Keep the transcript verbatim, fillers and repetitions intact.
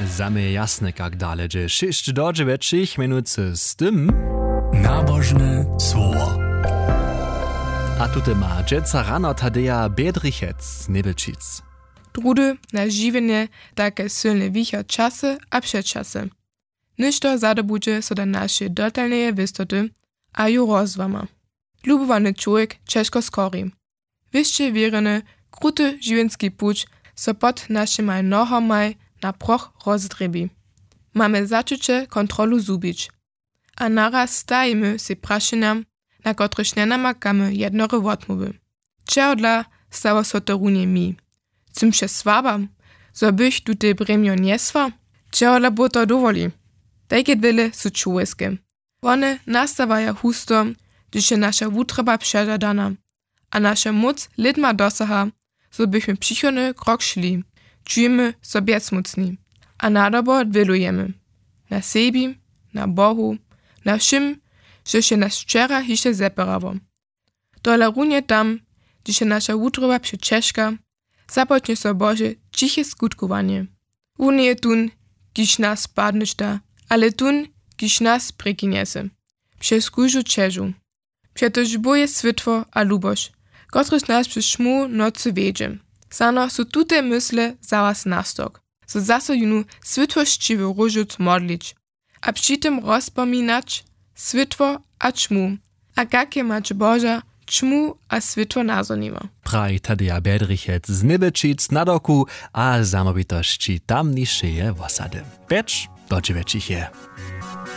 Za mnje je jasne, kak dale dźe. Šěsć do dźewjećich mjenujcy z tym. Nabožne słowo. A tute ma dźeca rano Tadeja Bjedrichec z Njebelčic. Druhdy na žiwjenje, take sylne wicha časy a předčasy. Něšto zadobudźe so do našeje dotalneje wěstoty a ju rozłama. Lubowany čłowjek ćežko skori. Wěsće wěrjeny, kruty žiwjenski puć so pod našimaj nohomaj na proch rozdrjebi. Mamy začuće kontrolu zhubić. A naraz stajimy sej prašenjam, na kotrychž njenamakamy jednore wotmołwy. Čehodla stało so to runje mi? Sym přesłaba, zo bych tutej brjemjo njesła? Čehodla Bóh to dowoli? Tajke dwěle su čłowjeske. Wone nastawaja husto, hdyž je naša wutroba přežadana a naša móc lědma dosaha, zo bychmy přichodny krok šli. Čujemy so bjezmócni a nadobo dwělujemy. Na sebi, na Bohu, na wšěm, žož je nas wčera hišće zepěrało. Tola runje tam, hdyž je naša wutroba přećežka, započnje so Bože ćiche skutkowanje. Wón njeje tón, kiž nas padnyšta, ale tón, kiž nas prěkinjese přez kóždu ćežu. Přetož Bóh je swětło a luboš, kotryž nas přez ćmu nocy wjedźe. Snano su tute mysle za was nastok, zo zaso jónu swětłosćiwy róžowc modlić a při tym rozpominać swětło a ćmu, a kak je mać Boža ćmu a swětło nazhoniła. Praji Tadeja Bjedrichec z Njebelčic na doku a zamołwitosći tamnišeje wosady. Pjeć do dźewjećich je.